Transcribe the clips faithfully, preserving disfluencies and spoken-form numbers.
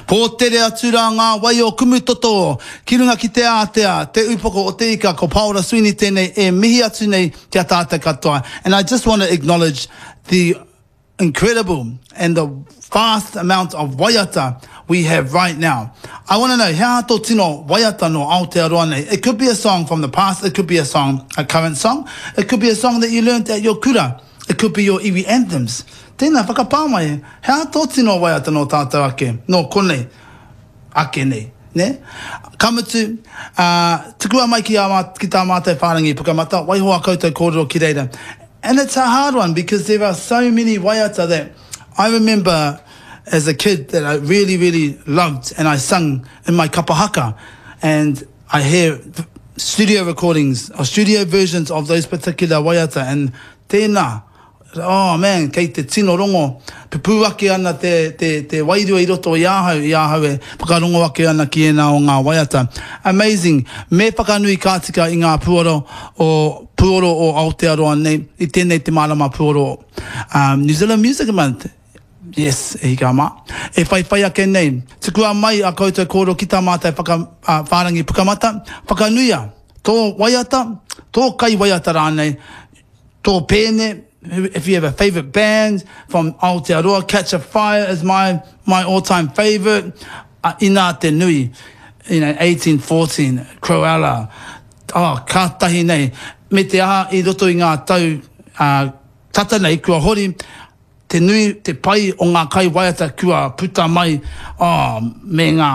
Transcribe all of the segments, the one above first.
Pōtere atu rā ngā wai o Kumutoto, ki runga ki te ātea, te upoko o te ika, ko Paora Sweeney tēnei e mihi atu nei ki a tātou katoa. And I just want to acknowledge the incredible and the vast amount of waiata we have right now. I want to know, he aha tō tino waiata no Aotearoa nei? It could be a song from the past, it could be a song, a current song, it could be a song that you learnt at your kura, it could be your iwi anthems. Tēnā, whakapā mai, he aha tō tino waiata no tātou ake, no konei, ake nei. Ne? Ka mutu, uh, tukua mai ki, a, ki tā mātou whārangi pukamata, waiho a koutou kōrero ki reira. And it's a hard one because there are so many waiata that I remember as a kid that I really, really loved and I sung in my kapa haka. And I hear studio recordings or studio versions of those particular waiata and tēnā, oh man, kei te tino rongo, pupū ake ana te, te, te wairua i roto i ahau, i ahau e whakarongo ake ana ki ēnā o ngā waiata. Amazing. Me whakanui ka tika i ngā puoro o, puoro o Aotearoa nei, i tēnei te marama puoro. Um, New Zealand Music Month. Yes, e hika mā. E whai whai ake nei. Tukua mai a koutou kōrero ki tā mātou whaka, uh, whārangi pukamata. Whakanuia, tō waiata, tō kai waiata rānei, tō pēne, if you have a favourite band from Aotearoa, Catch a Fire is my, my all-time favourite. Uh, inā te nui, you know, eighteen fourteen, Cruella, oh, ka tahi nei. Me te aha i roto i ngā tau uh, tata nei, kua hori, te nui, te pai o ngā kai waiata kua puta mai, oh, me ngā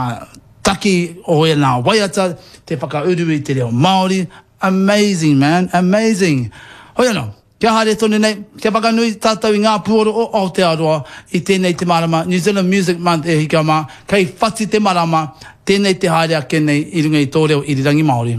taki o e ngā waiata, te whakauru i te reo Māori. Amazing, man, amazing. Hoi anō, kia haere tonu nei, kia whakanui tātou i ngā puoro o Aotearoa i tēnei te marama, New Zealand Music Month e hika mā, kei whati te marama, tēnei te haere ake nei i runga i tō reo irirangi Māori.